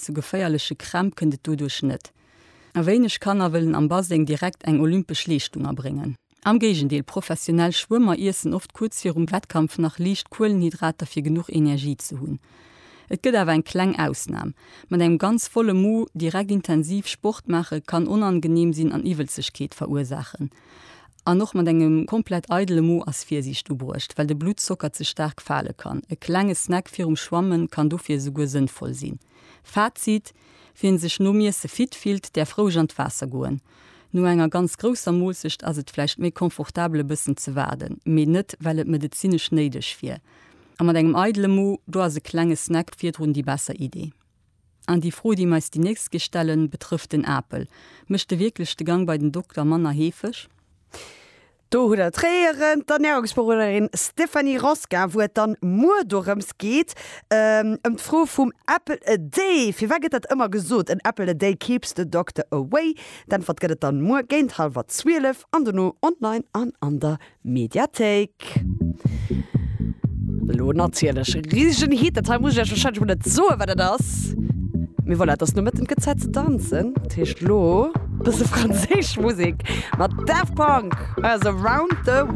zu geféierleche Krämp kënnt et doduerch net. A wéineg Kanner wëllen am Baseng direkt eng olympesch Leeschtung erbréngen. Am Géigendeel, professionell Schwëmmer iessen oft kuerz virum Wettkampf nach liicht Kuelenhydrater fir genuch Energie ze hunn. Et gëtt awer eng kleng Ausnam, Mat engem ganz volle Mo direkt intensiv Sport maache kann onangeneem sinn an Iwwelzegkeet verursaachen. An och mat engem komplett eidele Mo ass Virsiicht ubruecht, well de Bluttzocker ze staark fale kann. E klenge Snack virum Schwammen kann dofir esouguer sënnvoll sinn. Fazit, Wien sech nom Iesse fit fillt, däerf roueg an d'Waasser goen. No enger ganz grousser Moolzecht ass et vläicht méi confortabel e bëssen ze waarden, mee net well et medezinesch néideg wier. A mat engem eidele Mo, do ass e klenge Snack virdrun déi besser Idee. An déi Fro, déi mer eis déi nächst Keer stellen, betrëfft den Apel. Mécht e wierklech de Gang bei den Dokter manner heefeg? Do hutt der d'Réieren, d'Ernärungsberoderin Stéphanie Rosca, wou et dann muer dorëms geet, ëm d'Fro vum Apple a day. Firwat gëtt dat ëmmer gesot, an apple a day keeps the doctor away? D'Äntwert gëtt et dann muer géint hallwer 12 an dono online an an der Mediathéik. Elo natierlech e risegen Hit, dat hei muss ech iech warscheinlech mol net soen, wat dat ass. Mee voilà, et ass Nomëtten, et gëtt Zäit ze danzen. Dat heescht elo bësse franséisch Musek mat Daft Punk. Hei ass Around the World.